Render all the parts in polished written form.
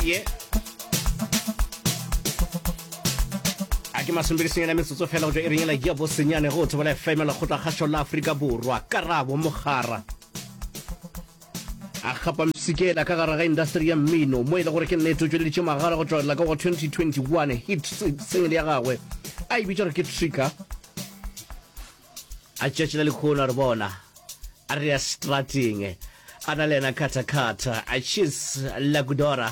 Ye. A ke masomepedisenyane a metsotso fela go tšwa iring yela ya bosenyane go Thobela FM lekgotlakgašo la Afrika Borwa. Karabo Mogara a gapa mpshikela ka gare ga indasteri ya mmino mo e le gore ke nnete o tšweleditše magala go tšwelela ka go 2021 hit single ya gagwe a e bitša gore ke Trigger. A tšatši la lekhono a re bona a re ya strateng a na le yena khathakhatha a cheese lagudora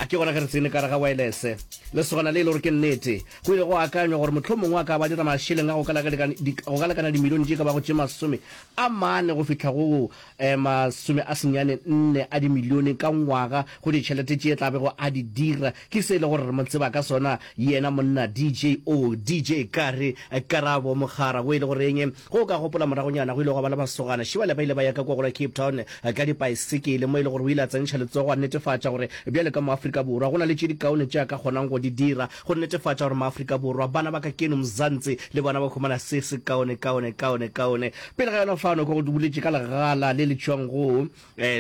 a ke gona ge re tsene ka re ga wireless lesogana le e le gore ke nnete go ile go akanywa gore mohlomongwe a ka ba dira mašeleng a go ka lekana dimilione tše ka bago tše 40 go fihla go 94 a dimilione ka ngwaga go ditšhelete tše tla bego a di dira. Ke se e le gore re mo tseba ka sona yena monna DJ O, DJ Kare, Karabo Mokgara, o e le goreng ge o ka gopola moragonyana go ile gwa ba le masogana šibale ba ile ba ya ka kua go la Cape Town ka dipaesekele mo e le gore o ile a tsentšha letsogo a netefatša gore bjale ka mo Afrika Borwa go na le tše dikaone tše a ka kgonang go di dira go netefatša gore maAfrika Borwa bana ba ka keno Mzansi le bona ba humana se se kaone kaone kaone kaone. Pele ga yona fano ke go boletše ka legala le le tšwang go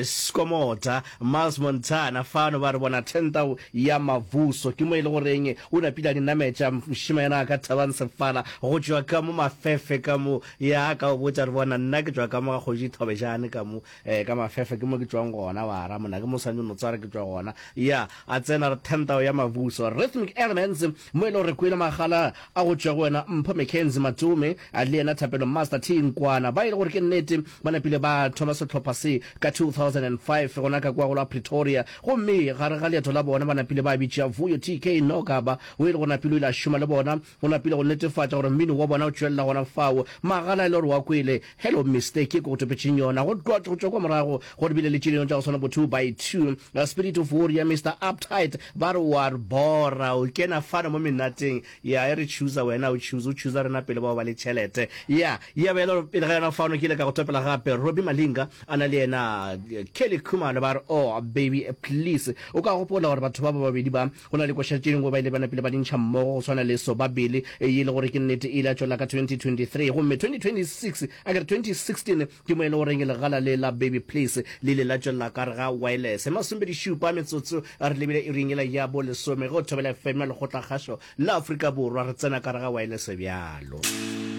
Skomota, Miles Montana, fano ba re bona tentau ya Mavuso ke mo e le goreng o napile a di nametša mošemanyana ka Thabang Sefala go tšwa ka mo Mafefe ka mo ya ka o botša re bona nna ke tšwa ka mo ga Kgoši Thobejane ka mo eh, ka Mafefe ke mo ke tšwang gona wa ra mona ke mo swanetše no tswara ke tšwa gona ya a tsena re tentau ya Mavuso Rhythmic Elements mo e le gore kwele magala a go tšwa go wena Mpho McKenzie Matome le yena Thapelo Master T Nkwana ba e le gore ke nnete ba napile ba thoma sehlopha se ka 2005 gona ka kua go la Pretoria gomme gare ga leeto la bona ba napile ba bitša Vuyo TK Nokaba o e le gore napile o ile a šoma le bona go napile go netefatša gore mmino wa bona o tšwelela gona fao magala e le gore wa kwele Hello Mister ke ko go topetšeng yona go tloa go tšwa kwa morago go re bile le tše dingwe tša go swana bo 2 by 2 Spirit of Warrior Mister Uptight ba re wa re bora o kena fano mo menateng ya e re chooser wena o choose o chooser rena pele bao ba le tšhelete ya ya be le pele ga yona fano ke ile ka go topela gape Robbie Malinga a na le yena Kelly Khumalo ba re oh baby please o ka gopola gore batho ba ba babedi ba Go na le koša tše dingwe ba ile ba napile ba di ntšha mmogo go swana le Sobabili ye e le gore ke nnete e ile ya tšwelela ka 2023 gomme 2026 a ke re 2016 ke mo e le goreng legala le la Baby Please le ile la tšwelela ka gare ga wireless. Masomepedišupa metsotso re lebile iring yela ya bolesome ge o thobela FM ya Lekgotlakgašo la Afrika Borwa re tsena ka gare ga wireless bjalo.